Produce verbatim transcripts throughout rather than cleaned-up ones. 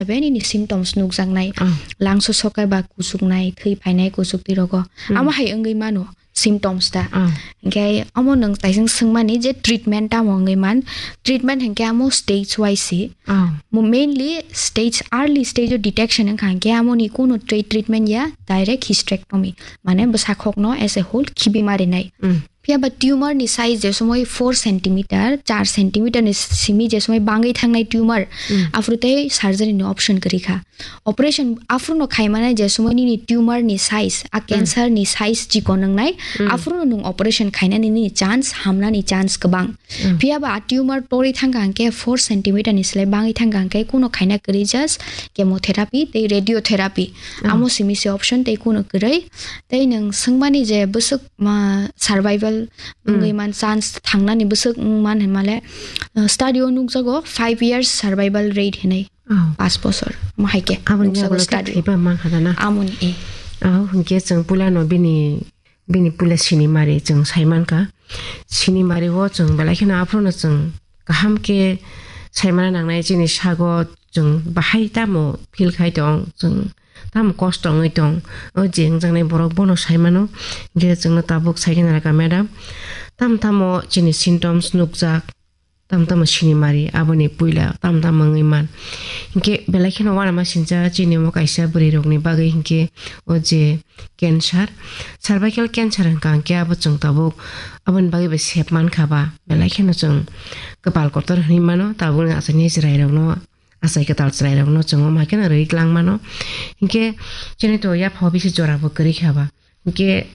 Bini symptoms nukjaknai. Ah. Langso sokai ba kuchuknai, thwi phainai kuchuk twi rogo. Hmm. Amo hai wngwi mano symptoms ta. Ah. Hinkhe amo nwng taising swngmani je treatment tamo wngwi man. Treatment hinkhe amo stage wise si. Ah. Mo mainly stage, early stage o detection wngkha hinkhe amoni kuno tre-, treatment ya, direct hysterectomy. Mane bwsakhokno as a whole khibi marinai. Hmm. Phiya ba tumor ni size je somoi four centimeter, char centimeter ni simi je somoi bangwi thangnai tumor, Hmm. aphuru tei surgery ni option kwrwi kha. Operation aphuru no khai mane je somoi nini tumor ni size, a Hmm. cancer ni size chikon wngnai, Hmm. aphuru no nwng operation khainani nini chance, hamnani chance kwbang. Hmm. Phiya ba a tumor torwi thangkha hwnkhe four centimeter ni slai bangwi thangkha hwnkhe kuno khaina kwrwi just chemotherapy tei radiotherapy. Hmm. Amo simi se option tei kuno kwrwi. Tei nwng swngmani je bwswk ma survival Hmm. wngwi man chance thangnani bwswk wng man hinmale, uh, study o nukjago five years survival rate hinwi. Oh. Pas bosor. Mo hai khe Aboni nukjago yagulo khe study o. Thwiba mankha da na? Amoni, eh. Oh, hinkhe chwng puila no bini, bini puila sinimari chwng sai mankha. Sinimari o chwng belai kheno aphuru no chwng kaham khe sai mana nangnai chini sago chwng bahai tamo feel khai tong, chwng tamo kosto wngwi tong. O je wngjaknai borok bono sai mano. Hinkhe chwngno tabuk sai khe nai kha madam. Tamo tamo chini symptoms nukjak. Tamo tamo sinimari, aboni puila tamo tamo wngwi man. Hinkhe belai kheno uanama sincha chini omo kaisa bwrwi rokni bagwi hinkhe o je cancer, cervical cancer hwnkha hinkhe abo chwng tabuk aboni bagwi bai sep mankha ba, belai kheno chwng kwpal kotor hinwi mano tabukni achaini chwrai rokno, achai kwtal chwrai rokno chwng omo hai kheno rwi tlang mano. Hinkhe chini to yapha o bisi jora bo kwrwi kha ba. Hinkhe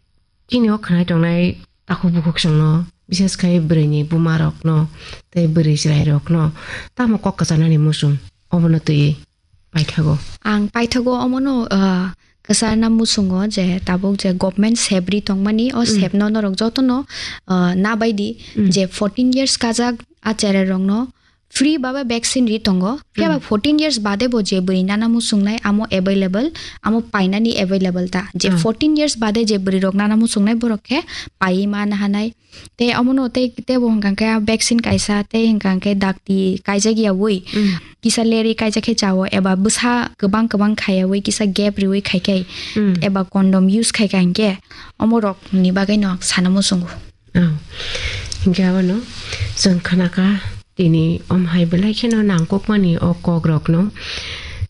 chini o khwnai tongnai takhuk bukhuk chwngno, bises khai bwrwini buma rokno tei bwrwi chwrai rokno tamo kok kwchanani muchung obono twiwi paithago. Ang paithago omono, ah, kwchana muchungo je tabuk je government sep ri tongmani, o Mm. sepno norok jotono, ah, nabaidi Mm. je fourteen years kajak a cherai rokno free baba vaccine ri tongo. Phiya ba Mm. fourteen years bade bo je bwrwi nana muchungnai amo available, amo painani available ta. Je Mm. fourteen years bade je bwrwi rok nana muchungnai borok khe paiwi ma nahanai. Tei omono tei, tei bo hwnkha khe vaccine kaisa tei hwnkha khe dakti kaijak ya wi. Mm. Kisa leri kaijak khe chao eba bwsa kwbang kwbang khaiya wi kisa gap riwi khai khai Mm. eba condom use khai khai hinkhe omorok ni bagwi no sana muchungo. Oh. Hinkhe abono chwng khna kha tini omo hai belai kheno nangkukmani o kok rokno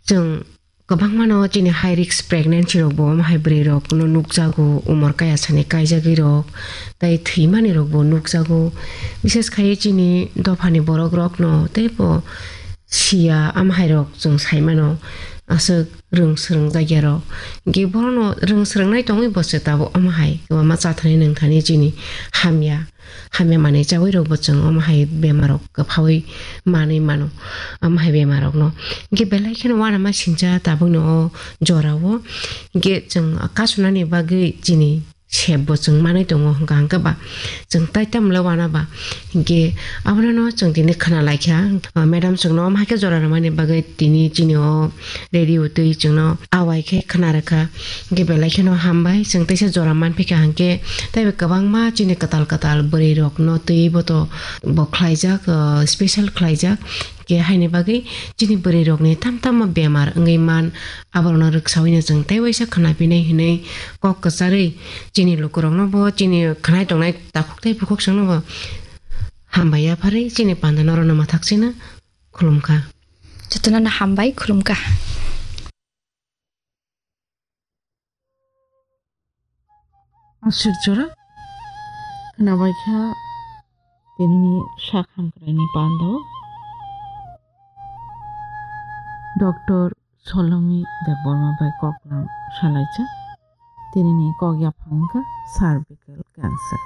chwng kwbangmano chini high risk pregnancy rok bo omo hai bwrwi rok no nukjago, umor kaya sani kaijagwi rok, tei thwimani rok bo nukjago, bises khai chini dophani borok rok no tei bo siya omo hai rok chwng sai mano, aswk rwng swrwng jak ya rok, hinkhe bohrok no rwng swrwng nai tongwi bo se tabuk omo hai kwbangma cha thani nwng thani chini hamya. Hamya manwi chawi rok bo chwng omo hai bemar rok kwphawi manwi mano. Omo hai bemar rok no. Hinkhe belai kheno uanama sincha tabukni o jora o. Hinkhe chwng kasunani bagwi chini sep bo chwng manwi tongo hwnkha hwnkhe ba chwng tai tamo le uana ba. Hinkhe abono no chwng tini khna lai kha. Ah, madam chwngno omo hai khe jora rwmani bagwi tini chini o radio twi chwngno awai khe khna rwkha. Hinkhe belai kheno hambai, chwng teisa jora manphi kha hinkhe teibo kwbangma chini kwtal kwtal bwrwi rokno twiwi bo to bo khlaijak, ah, special khlaijak. Hinkhe haini bagwi chini bwrwi rokni tam tamo bemar wngwi man, aborokno rwksaui no chwng tei waisa khna phinai hinwi kok kwcharwi chini lukurokno bo chini khnai tongnai takhuk tei bukhuk chwngno bo hambai yapharwi chini panda norokno mwthak chino khulumkha. Jotono no hambai khulumkha. Aswk jora khnabai kha tinini sak hamkraini panda o Doctor Solomi Debbarma bai koklam salaijak. Tinini kok yaphang wngkha cervical cancer.